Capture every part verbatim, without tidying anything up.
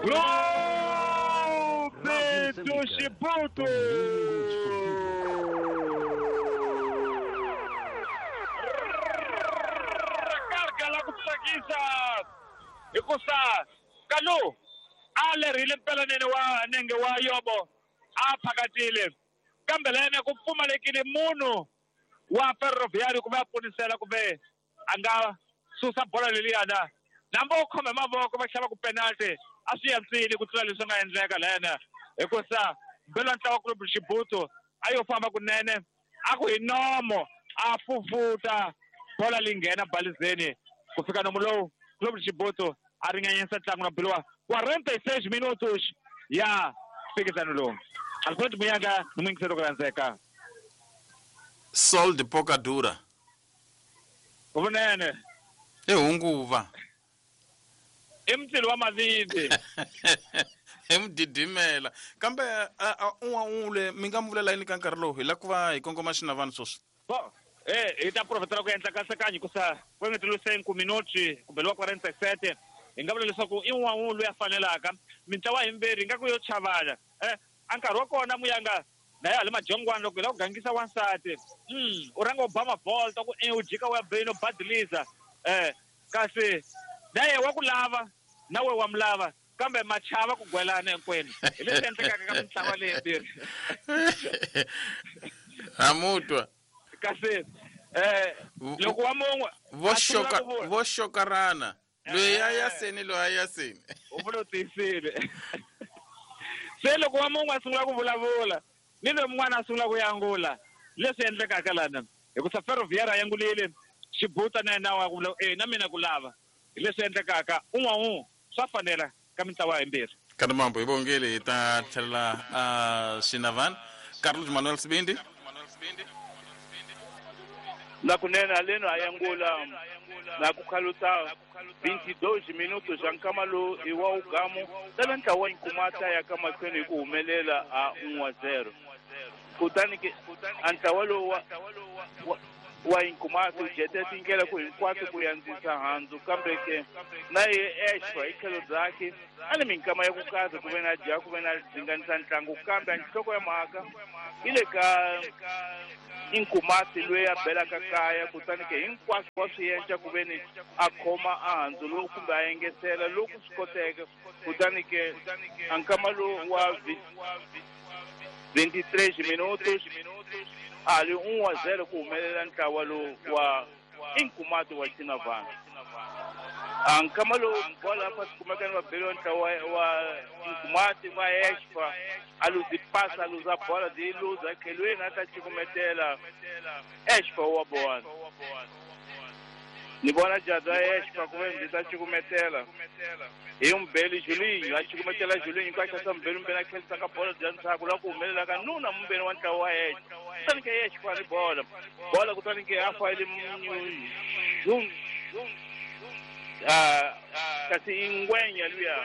Clube do Chibuto! Recarga la ku tsakisa hikusa Kalu a lerhile mpela nene wa nenge wa Yobo a phakatile kambe lene ku pfumalekile munhu wa Ferroviário ku va a ponisela kumbe a nga susa bola leliyana nambo u khome mavoko va xava ku penalty a swi yantswile ku tlula leswi nga endleka lena hikusa mbelo wa ntlawa Clube Chibuto a yo famba kunene a ku hi nomo a fufuta bola leyi nghena balizeni ku fika nomo lowu Clube Chibuto a ringanyisa ntlangu na bilowa quarenta e seis minutos ya mphikizano lowu. Alfred Muyanga ni muyingiseri ku rhandzeka. Sol de pouca dura. Vunene. I hunguva. I mutilo wa mavindi. I mudidimela. Kambe un'wana mi nga mi vulela yini ka nkarhi lowu hi lava ku va hi kongoma xinavani sweswi? Bo, eh hi ta profetela ku endla kasekanyi hikusa ku engeteriwe cinco minuti kumbe lowa quarenta e sete hi nga vula leswaku i un'wana loyi a fanelaka mintlawa himbirhi hi nga ku yo chavana eh a nkarhi wa kona Muyanga na ya le majongwana loko hi lava ku gangisa wansati mm u rhanga u ba mavolta ku e u jika u ya beni u badiliza eh kasi na ye wa ku lava na we wa mu lava kambe machava ku gwelana hinkwenu hi leswi endlekaka ka mintlawa leyimbirhi. Hamutwa kasi eh loko wa mun'we vo xoka vo xokarana loyi a ya seni loyi a ya seni u vula u tiyisile se loko wa mun'we a sungula ku vulavula ni loyi mun'wana a sungula ku yangula leswi endlekaka lana hikusa Ferroviário a yangulile Chibuta na yena wa ku vula e na mina ku lava hi leswi endlekaka un'wana un'we swa fanela ka mintlawa yimbirhi. Ka mambo hi vongele hi ta tlhelela a Xinavani. Carlos Manuel Sibindi na kunene aleno a yangula na ku khaluta vinte e dois minutos ya nkama lowu i wa ugamu lava ntlawa Nkumata ya ka mahlweni hi ku humelela a um a zero kutani ke a ntlawa lowu wa wa Nkumata u jete tindlela ku hinkwato ku yandzisa handzu kambe ke na ye Exfa hi tlhelo byakhe a ni minkama ya ku kaza ku ve na dya ku ve na dzinganisa ntlangu kambe a nhloko ya mhaka yi le ka Nkumati loyi a belaka kaya kutani ke hinkwaswo wa swi endla ku ve ni a khoma a handzu lowu kumbe a engetela loku swi koteka kutani ke a nkama lowu wa vinte e três minutos ali um a zero ku humelela ntlawa lowu wa Nkumati wa Xinavani. A nkama lowu bola fa kumeka ni vabeli wa ntlawa wa Nkumati va Exfa a luzi pasa a luza bola di luza khelweni a ta cukumetela Exfa wa bona ni vona jada Exfa ku ve ndzi ta cukumetela hi Mbeli Julinho a cukumetela Julinho ka xa Mbeli Mbeli a khelisa ka bola bya ndzhaku la ku humelela ka nuna mumbeni wa ntlawa wa Exfa kutani ke Exfa ni bola bola kutani ke a fayile munyu ah kasi ingwenya luya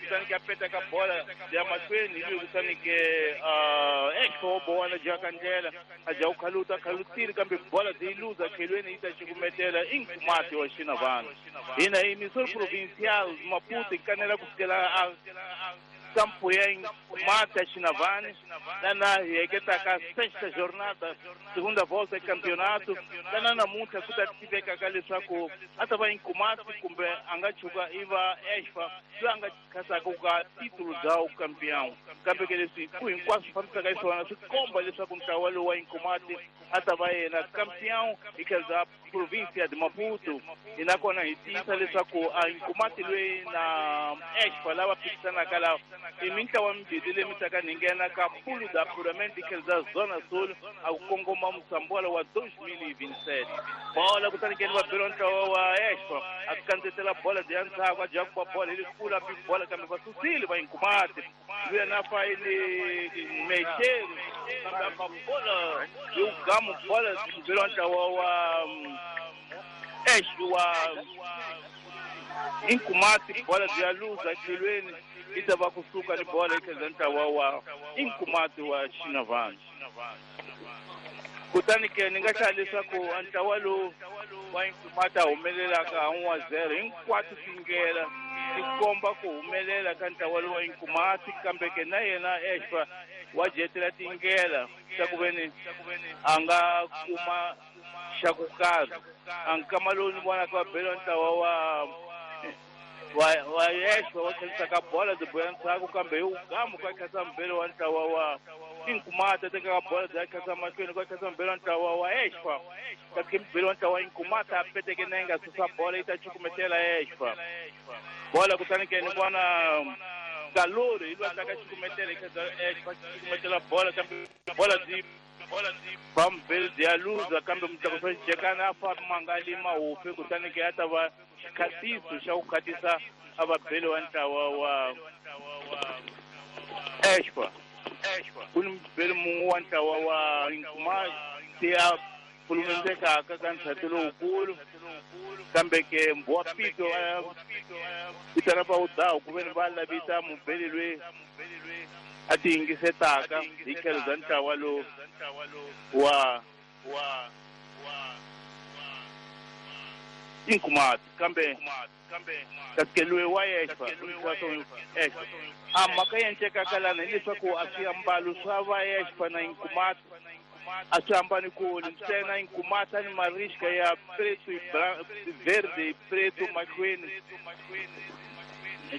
kutani ke a peta ka bola ya mahlweni luya kutani ke ah Exfa wa bona jaka ndlela a ja u khaluta khalutile kambe bola yi luza khelweni yi ta cukumetela i Nkumati wa Xinavani hina hi Missouri Provincial Maputo hi kanela ku fikela a campo ya Nkumati ya Xinavani lana hi heketaka sexta jornada segunda volta ya campeonato lana namuntlha ku ta tivekaka leswaku a ta va Nkumati kumbe a nga chuka i va Exfa loyi a nga khasaka ka titulo bya campeão kambe ke leswi ku hinkwaswo fambisaka xiswona swi komba leswaku ntlawa lowu wa Nkumati a ta va yena campeão hi tlhelo bya província de Maputo hi nakona hi tiyisa leswaku a Nkumati loyi na Exfa lava phikisanaka lava i mintlawa mimbirhi leyi mi taka ni nghena ka pulu da apuramento hi tlhelo bya Zona Sul a ku kongoma Mosambola wa dois mil e vinte e sete bola kutani ke ni vabeli wa ntlawa wa Exfa a kandzetela bola bya ndzhaku a dya ku ba bola hi lekulu a bi bola kambe va susile va Nkumati luya na fayile mexeri kambe a ba bola hi ugamu bola mbeli wa ntlawa wa Exfa wa Nkumati bola bya luza khelweni yi ta va kusuka ni bola yi tlhela ntlawa wa Nkumati wa Xinavani. Kutani ke ni nga hlaya leswaku ntlawa lowu wa Nkumati humelelaka ha n'we zero hinkwato tindlela ti komba ku humelela ka ntlawa lowu wa Nkumati kambe ke na yena Expa wa jetela tindlela ta ku veni a nga kuma xa ku karhi. A nkama lowu ni vonaka va bela ntlawa wa wa wa Expa wa khensa bola byi boya ndzhaku kambe hi ugamu ka khensa mbele wa ntlawa wa Nkumati teka bola bya khensa mahlweni ka khensa mbele wa ntlawa wa Expa kasi mbele wa ntlawa wa Nkumati a peteke nenge a susa bola yi ta cukumetela Expa bola kutani ke ni vona Kalori hi lwa taka cukumetela khensa Expa cukumetela bola kambe bola byi bambeli byi ya luza kambe mutlakusi wa xijekana a fa mangali mahufi kutani ke a ta va xikhatiso xa ku khatisa a va beli wa ntlawa wa Expa. Ku ni mubeli mun'we wa ntlawa wa Nkumati a pfulumendekaka ka ndzhati lowukulu kambe ke Mbhuwa Pito a vitana va udahu ku veni va lavisa mubeli loyi a ti yingisetaka hi tlhelo bya ntlawa lowu wa Nkumati kambe kasi loyi wa Expa Expa a mhaka yi endlekaka lana hileswaku a swiambalo swa va Expa na Nkumati a swi hambani kule ntsena Nkumati ni marixka ya preto verde preto mahlweni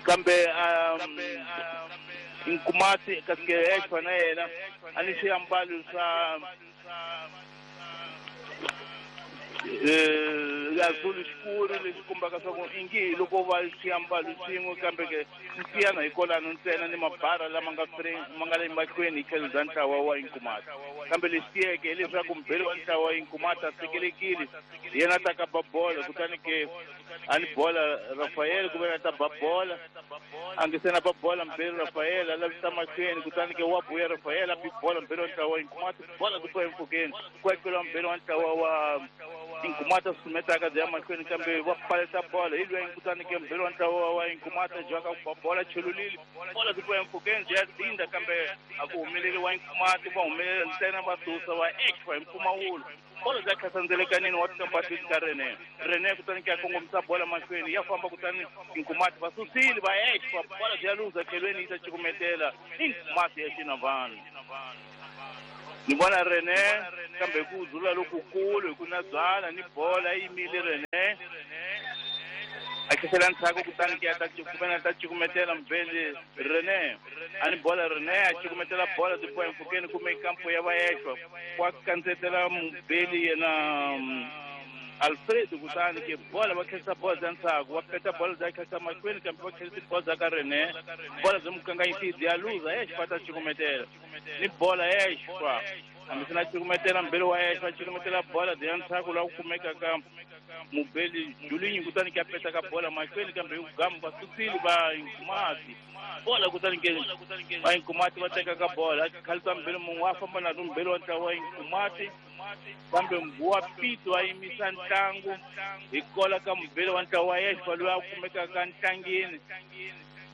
kambe Nkumati kasi Expa na yena a ni swiambalo swa azulu xikulu leswi kombaka swa ku ingi loko va swiambalo swin'we kambe ke nsiyana hi kolano ntsena ni mabara lama nga ma nga le mahlweni hi tlhelo bya ntlawa wa Nkumati kambe lexi tiyeke hileswaku mubeli wa ntlawa wa Nkumati a sekelekile yena a ta ka ba bola kutani ke a ni bola Rafael ku ve a ta ba bola a nge se na ba bola mubeli Rafael a lavisa mahlweni kutani ke wa buya Rafael a bi bola mubeli wa ntlawa wa Nkumati bola ku twa empfhukeni ku akeliwa mubeli wa ntlawa wa Nkumati a susumetaka byi ya mahlweni kambe va paleta bola hi loyi kutani ke mubeli wa ntlawa wa Nkumati a jaka ku ba bola chelulile bola byi twa empfhukeni byi ya dinda kambe a ku humeleli wa Nkumati va humelela ntsena va susa va Expa hi mpfumawulo bola bya khasandzelekanini wa tikambatini ka Rene Rene kutani ke a kongomisa bola mahlweni ya famba kutani Nkumati va susile va Expa bola byi ya luza tlhelweni yi ta cukumetela Nkumati ya Xinavani. Ni vona Rene kambe ku dzula lokukulu hi ku na byala ni bola yi yimile Rene a khehlela ndzhaku kutani ke a ta cukumela ta cukumetela mubeli Rene a ni bola Rene a cukumetela bola byi boha empfhukeni kumbe kampo ya va Expa wa kandzetela mubeli yena Alfredo kutani ke bola va khensa bola bya ndzhaku va peta bola bya khensa mahlweni kambe va khensa bola bya ka Rene bola byi mukanganyisi byi ya luza Expa ta cukumetela ni bola Expa hambi swi na cukumetela mubeli wa Expa cukumetela bola byi ya ndzhaku laha ku kumekaka mubeli Julinyi kutani ke a peta ka bola mahlweni kambe hi gamu va susile va Nkumati bola kutani ke va Nkumati va teka ka bola khalisa mubeli mun'we a famba na mubeli wa ntlawa wa Nkumati kambe Mbhuwa Pito a yimisa ntlangu hi kola ka mubeli wa ntlawa wa Expa loyi a kumekaka ntlangeni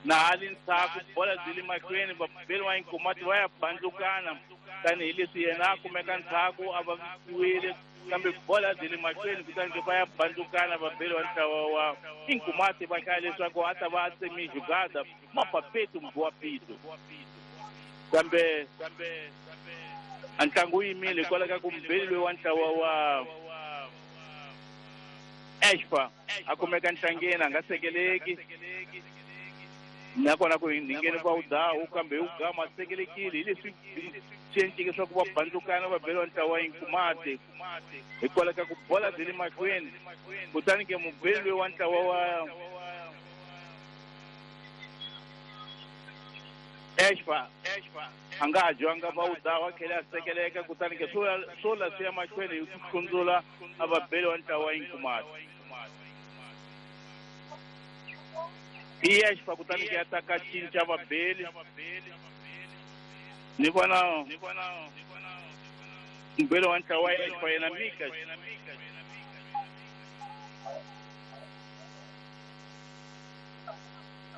na hali ndzhaku bola byi le mahlweni vabeli wa Nkumati va ya bandlukana tanihileswi yena a kumeka ndzhaku a vavisiwile kambe bola byi le mahlweni kutani ke va ya bandlukana vabeli wa ntlawa wa Nkumati va hlaya leswaku a ta va a tsemi jugada mapapetu Mbhuwa Pito kambe a ntlangu wu yimile hikwalaho ka ku mubeli loyi wa ntlawa wa Expa a kumeka ntlangeni a nga sekeleki nakona ku hingeni va udahu kambe hi ugama a sekelekile hi leswi swi endleke leswaku va bandlukana va beliwa ntlawa wa Nkumati hikwalaho ka ku bola byi le mahlweni kutani ke mubeli loyi wa ntlawa wa Expa a nga ha dyiwanga va udahu a tlhela a sekeleka kutani ke swo la swi ya mahlweni hi ku hlundzula a va beli wa ntlawa wa Nkumati. I Expa kutani ke ya ta ka cinca vabeli ni vona mubeli wa ntlawa wa Expa yena Mika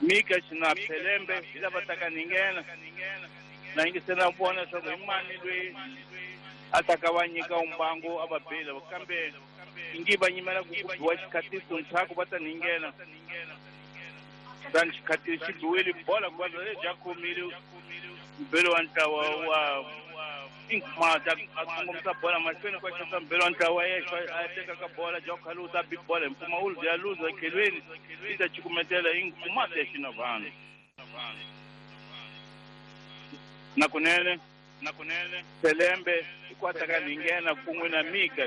Mika na Phelembe hi lava taka ni nghena na yingisela vona leswaku hi mani loyi A ta ka va nyika umbango a va bela kambe ingi va nyimela ku ku biwa xikhatiso ntshaku va ta ninghena kutani xikhatiso xi biwile bola ku va leyi khomile mbelo wa ntlawa wa Inkhumata a kongomisa bola mahlweni kwa xota mbelo wa ntlawa yexo a teka ka bola ja khaluta bi bola hi mpfumawulo ya luza ekhelweni yi ta cukumetela Inkhumata ya Xinavano nakunene nakunene Selembe hikwata ka ninghena kun'we na Mika